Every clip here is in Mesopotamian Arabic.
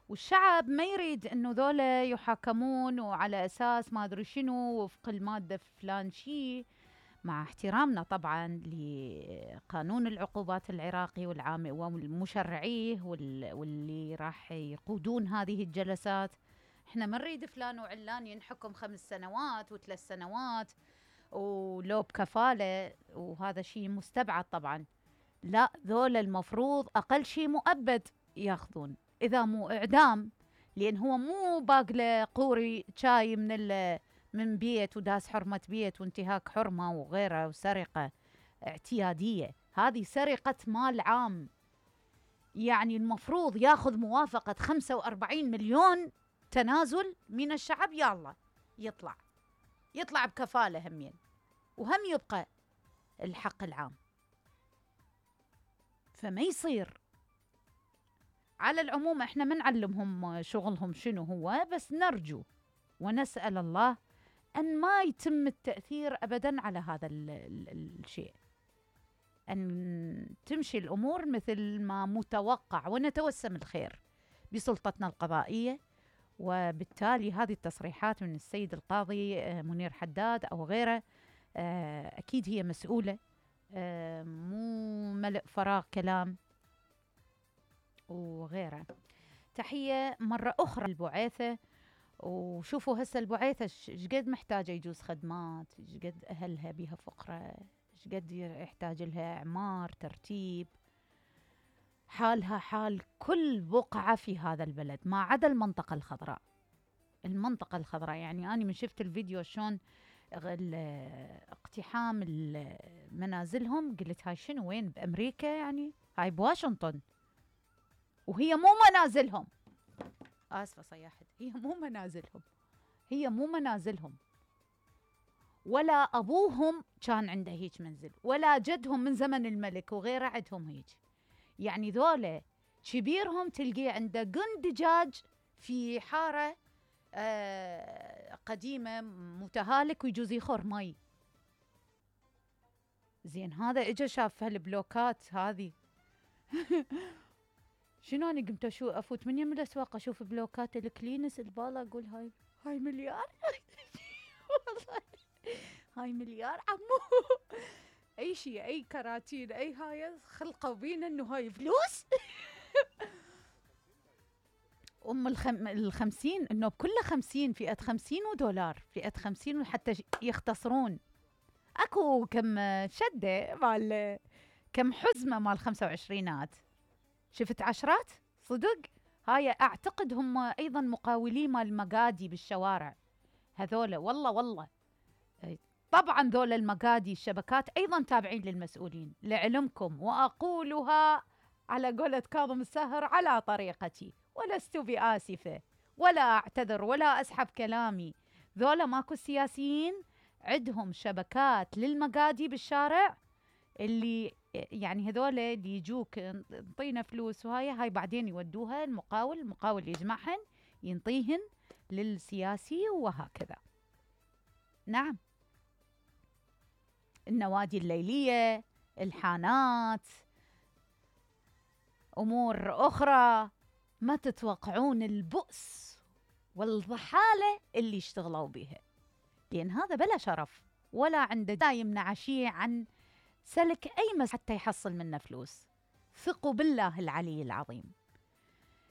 والشعب ما يريد انه ذولا يحاكمون وعلى اساس ما ادري شنو وفق الماده فلان شيء، مع احترامنا طبعا لقانون العقوبات العراقي والمشرعيه واللي راح يقودون هذه الجلسات. احنا ما نريد فلان وعلان ينحكم 5 سنوات و3 سنوات ولو بكفاله، وهذا شيء مستبعد طبعا. لا، ذولا المفروض اقل شيء مؤبد ياخذون، اذا مو اعدام، لان هو مو باقله قوري شاي من بيت وداس حرمه بيت وانتهاك حرمه وغيره وسرقه اعتياديه، هذه سرقه مال عام. يعني المفروض ياخذ موافقه 45 مليون تنازل من الشعب، يلا يطلع بكفاله همين، وهم يبقى الحق العام. فما يصير. على العموم احنا ما نعلمهم شغلهم شنو هو، بس نرجو ونسأل الله أن ما يتم التأثير أبدا على هذا الشيء، أن تمشي الأمور مثل ما متوقع، ونتوسم الخير بسلطتنا القضائية. وبالتالي هذه التصريحات من السيد القاضي منير حداد أو غيره أكيد هي مسؤولة، مو ملء فراغ كلام وغيره. تحية مرة أخرى للبعيثة. وشوفوا هسه البعيثة شقد محتاجة يجوز خدمات، شقد أهلها بيها فقرة، شقد يحتاج لها إعمار، ترتيب. حالها حال كل بقعة في هذا البلد ما عدا المنطقة الخضراء. المنطقة الخضراء يعني أنا من شفت الفيديو شلون اقتحام منازلهم، قلت هاي شنو، وين بأمريكا؟ يعني هاي بواشنطن، وهي مو منازلهم. آسفة صياحت، هي مو منازلهم، ولا أبوهم كان عنده هيك منزل، ولا جدهم من زمن الملك وغيره عندهم هيك. يعني ذولا كبيرهم تلقيه عنده قن دجاج في حارة قديمة متهالك ويجوز يخور مي. زين هذا اجا شاف هالبلوكات هذه شنو أنا قمت أفوت من يم الأسواق أشوف بلوكات الكلينس البالة، أقول هاي مليار والله هاي مليار عمو أي شيء، أي كراتين، أي هاي خلقوا بينا إنه هاي فلوس ال50 إنه بكل 50 فئة 50 ودولار، فئة 50 حتى يختصرون. أكو كم شدة مال كم حزمة مال 25 شفت عشرات صدق. هاي أعتقد هم أيضا مقاولين مال المقادي بالشوارع هذولا. والله طبعا ذولا المقادي الشبكات أيضا تابعين للمسؤولين لعلمكم، وأقولها على قولة كاظم الساهر على طريقتي، ولست بآسفة ولا أعتذر ولا أسحب كلامي. ذولا ماكو سياسيين عندهم شبكات للمقادي بالشارع، اللي يعني هذول اللي يجوك انطينا فلوس وهاي بعدين يودوها المقاول يجمعهن ينطيهن للسياسي وهكذا. نعم، النوادي الليلية، الحانات، أمور أخرى. ما تتوقعون البؤس والضحالة اللي اشتغلوا بها، لأن هذا بلا شرف ولا عنده دا يمنع شيء عن سلك أي حتى يحصل منه فلوس. ثقوا بالله العلي العظيم.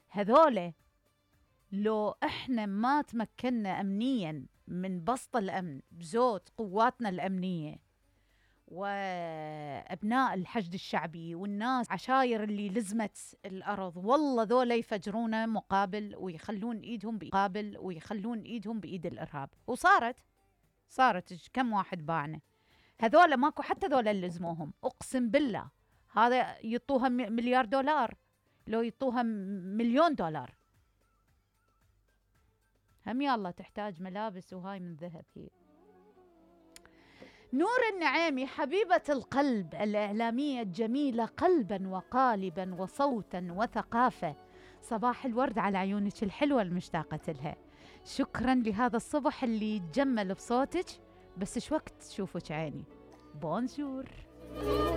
هذول لو احنا ما تمكنا أمنيا من بسط الأمن بزود قواتنا الأمنية وأبناء الحشد الشعبي والناس عشاير اللي لزمت الأرض، والله ذولا يفجرونه مقابل ويخلون إيدهم بإيد الإرهاب. وصارت كم واحد باعنا. هذولا ماكو حتى ذولا اللي لزموهم، أقسم بالله هذا يطوها $1 مليار، لو يطوها $1 مليون، هم يالله تحتاج ملابس وهاي من ذهب. هي نور النعيمي حبيبة القلب الإعلامية الجميلة قلبا وقالبا وصوتا وثقافة، صباح الورد على عيونك الحلوة المشتاقة لها. شكرا لهذا الصبح اللي يتجمل بصوتك، بس شو وقت تشوفك عيني. بونجور.